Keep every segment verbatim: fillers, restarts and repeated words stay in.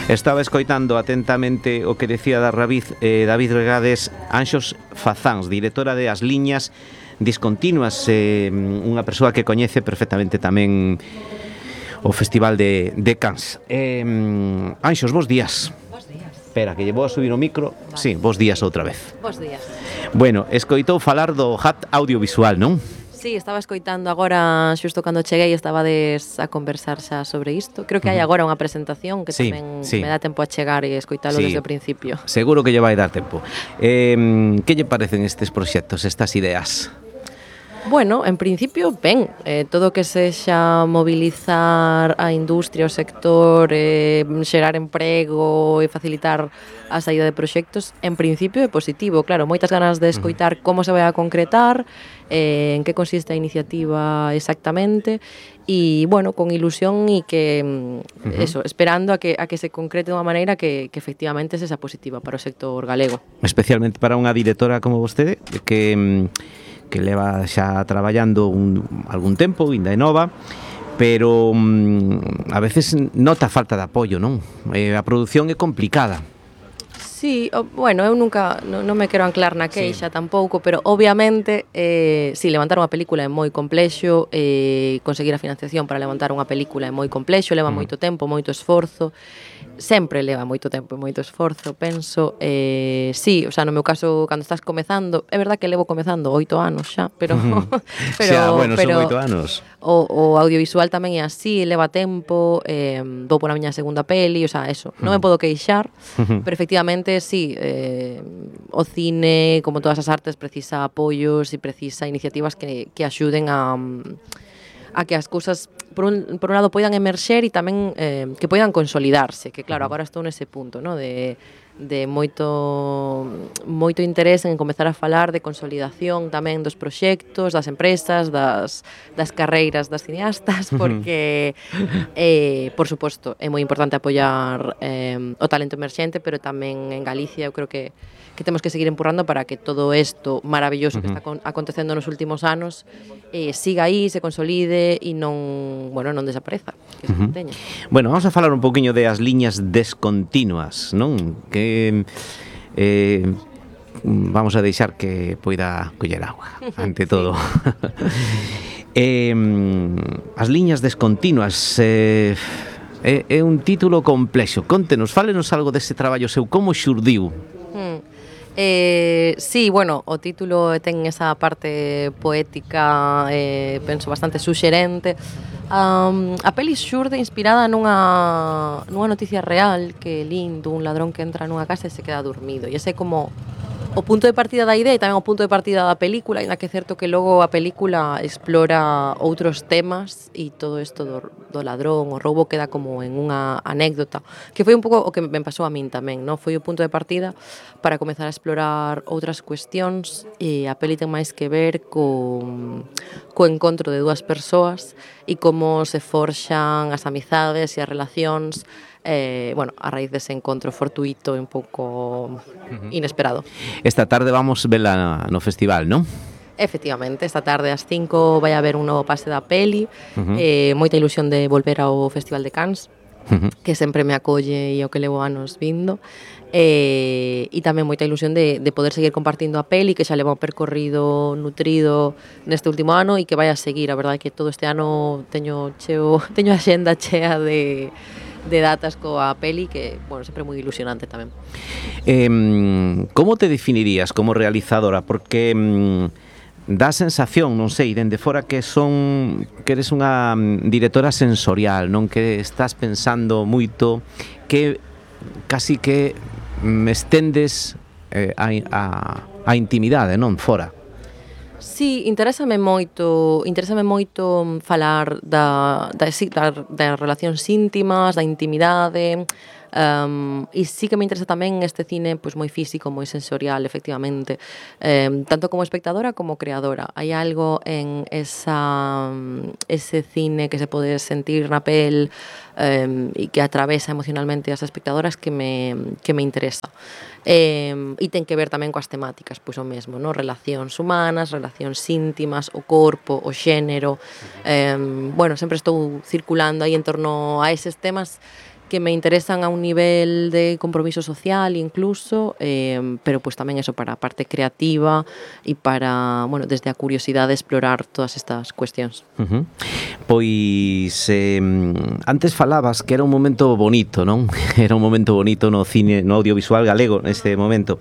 Estaba escoitando atentamente o que decía da Rabiz, eh, David Regades, Anxos Fazáns, directora de As Liñas Discontinuas, eh, unha persoa que coñece perfectamente tamén o Festival de, de Cans. Eh, Anxos, bos días. Bos días. Espera, que lle vou a subir o micro. Vale. Sí, bos días outra vez. Bos días. Bueno, escoitou falar do H A T audiovisual, non? Sí, estaba escoitando agora, xusto cando cheguei, estabades a conversar xa sobre isto. Creo que hai agora unha presentación que sí, tamén sí. me dá tempo a chegar e escoitalo sí. desde o principio. Seguro que lle vai dar tempo. Eh, que lle parecen estes proxectos, estas ideas? Bueno, en principio, ben, eh, todo o que sexa mobilizar a industria, o sector, eh, xerar emprego e facilitar a saída de proxectos, en principio é positivo, claro, moitas ganas de escoitar como se vai a concretar, eh, en que consiste a iniciativa exactamente, e, bueno, con ilusión e que, uh-huh. eso, esperando a que, a que se concrete de unha maneira que, que efectivamente sexa positiva para o sector galego. Especialmente para unha directora como vostede, que... que leva xa traballando un, algún tempo, ainda é nova, pero mm, a veces nota falta de apoio, non? Eh, a produción é complicada. Sí, o, bueno, eu nunca, non, non me quero anclar na queixa sí. tampouco, pero obviamente, eh, si, sí, levantar unha película é moi complexo, eh, conseguir a financiación para levantar unha película é moi complexo, leva mm. moito tempo, moito esforzo, sempre leva moito tempo e moito esforzo, penso, eh, sí, o sea, no meu caso, cando estás comezando, é verdad que levo comezando oito anos xa, pero... pero xa, bueno, pero, son oito anos. O, o audiovisual tamén é así, leva tempo, eh, vou pola miña segunda peli, o sea, eso, non me podo queixar, pero efectivamente, sí, eh, o cine, como todas as artes, precisa apoios e precisa iniciativas que, que axuden a... a que as cousas, por un, por un lado, poidan emerxer e tamén eh, que poidan consolidarse, que claro, agora estou nese punto, ¿no? de, de moito moito interés en comezar a falar de consolidación tamén dos proxectos, das empresas, das, das carreiras das cineastas, porque, eh, por suposto, é moi importante apoiar eh, o talento emerxente, pero tamén en Galicia eu creo que que temos que seguir empurrando para que todo isto maravilloso que está acontecendo nos últimos anos eh, siga aí, se consolide e non, bueno, non desapareza, que se manteña. Bueno, vamos a falar un poquinho de as liñas descontinuas, non? Que eh, vamos a deixar que poida coller agua, ante todo. eh, as liñas descontinuas eh, é, é un título complexo. Contenos, fálenos algo dese traballo seu, como xurdiu? Hmm. Eh, sí, bueno, o título ten esa parte poética, eh, penso bastante suxerente. Um, a peli xurde inspirada nunha, nunha noticia real que lín dun ladrón que entra nunha casa e se queda dormido. E ese é como o punto de partida da idea e tamén o punto de partida da película, ainda que é certo que logo a película explora outros temas e todo isto do, do ladrón, o roubo queda como en unha anécdota, que foi un pouco o que me pasou a min tamén, non? Foi o punto de partida para comezar a explorar outras cuestións e a peli ten máis que ver co, co encontro de dúas persoas e como se forxan as amizades e as relacións Eh, bueno, a raíz dese encontro fortuito e un pouco inesperado. Esta tarde vamos vela no festival, non? Efectivamente, esta tarde ás cinco vai haber un novo pase da peli, uh-huh. eh, moita ilusión de volver ao Festival de Cans, uh-huh. que sempre me acolle e o que levo anos vindo, eh, e tamén moita ilusión de, de poder seguir compartindo a peli, que xa leva un percorrido nutrido neste último ano e que vai a seguir. A verdade é que todo este ano teño cheo, teño a xenda chea de... de datas coa peli que, bueno, sempre moi ilusionante tamén. Eh, como te definirías como realizadora? Porque mm, dá sensación, non sei, dende fora que son que eres unha directora sensorial, non, que estás pensando moito, que casi que me estendes eh, a, a, a intimidade, non, fora. Sí, interésame moito, interésame moito falar da, da, da, das relacións íntimas, da intimidade, um, e sí que me interesa tamén este cine pois, moi físico, moi sensorial, efectivamente, um, tanto como espectadora como creadora. Hai algo en esa, ese cine que se pode sentir na pel um, e que atravesa emocionalmente as espectadoras que me, que me interesa. Eh, e ten que ver tamén coas temáticas, pois o mesmo, no? Relacións humanas, relacións íntimas, o corpo, o xénero. Eh, bueno, sempre estou circulando aí en torno a eses temas que que me interesan a un nivel de compromiso social incluso, eh, pero pues tamén eso para a parte creativa e para, bueno, desde a curiosidade explorar todas estas cuestións. Uh-huh. Pois eh, antes falabas que era un momento bonito, non? Era un momento bonito no cine, no audiovisual galego neste momento.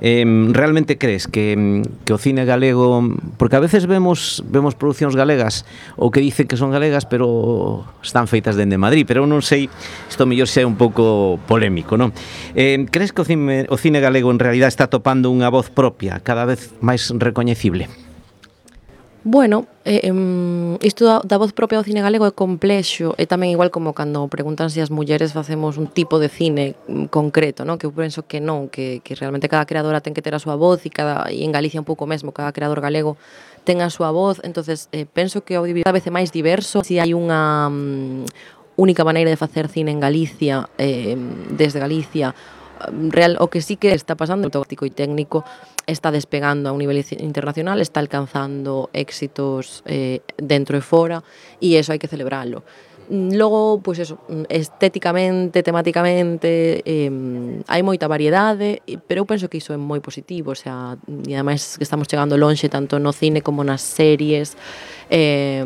Eh, realmente crees que, que o cine galego, porque a veces vemos vemos producións galegas ou que dicen que son galegas, pero están feitas dende Madrid, pero eu non sei, isto mellor xa é un pouco polémico, non? Eh, crees que o cine, o cine galego en realidad está topando unha voz propia, cada vez máis recoñecible? Bueno, eh, isto da, da voz propia do cine galego é complexo, e tamén igual como cando preguntan se as mulleres facemos un tipo de cine concreto, non? Que eu penso que non, que, que realmente cada creadora ten que ter a súa voz, e, cada, e en Galicia un pouco mesmo, cada creador galego ten a súa voz, entonces eh, penso que o audiovisual cada vez é máis diverso, se hai unha um, única maneira de facer cine en Galicia, eh, desde Galicia, real, o que sí que está pasando, o táctico e técnico, está despegando a un nivel internacional, está alcanzando éxitos eh, dentro e fora, e eso hai que celebrarlo. Logo, pois eso, estéticamente, temáticamente, eh, hai moita variedade, pero eu penso que iso é moi positivo, o sea, e ademais que estamos chegando lonxe tanto no cine como nas series, eh,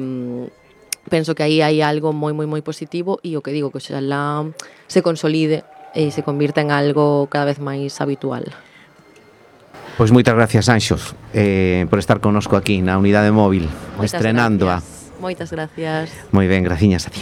penso que aí hai algo moi, moi, moi positivo, e o que digo, que oxalá se consolide e se convirta en algo cada vez máis habitual. Pois moitas gracias, Anxos, eh, por estar connosco aquí na Unidade Móvil, moitas estrenándoa. Gracias. Moitas gracias. Moi ben, graciñas a ti.